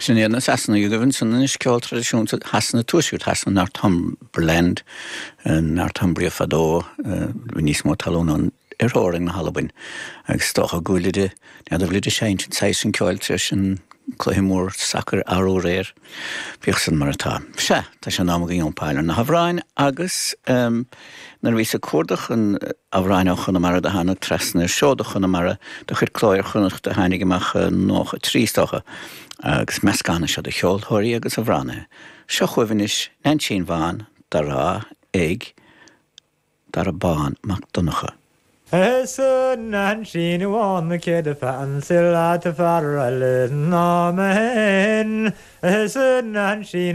Sin iad na Sasanaigh agaibh ansan anois, ceol traidisiúnta Shasana, tuaisceart Shasana, Northumberland, Northumbria fadó, bhí níos mó talún ann ar theorainn na hAlbain agus is dócha go bhfuilid, n'fheadar an bhfuilid ag seinnt an saghas sin ceoil tar éis an cluiche mór sacair arú aréir. Bíodh san mar atá. Sea, tá sé in am againn iompáil ar na hamhráin agus nuair a bhíos ag cuardach an amhráin ó Chonamara do thánag trasna ar Seoda Chonamara de chuid Cló Iar-Chonnacht a tháinig amach i 93 is dócha agus meascán é seo de cheoltóirí agus amhránaithe. Seo chugaibh anois Neainsín Bhán dá rá ag Dara Bán Mac Donncha. Is a Neainsín Bhán cé do pheansail leat fear eile ná mé féin Is a Neainsín.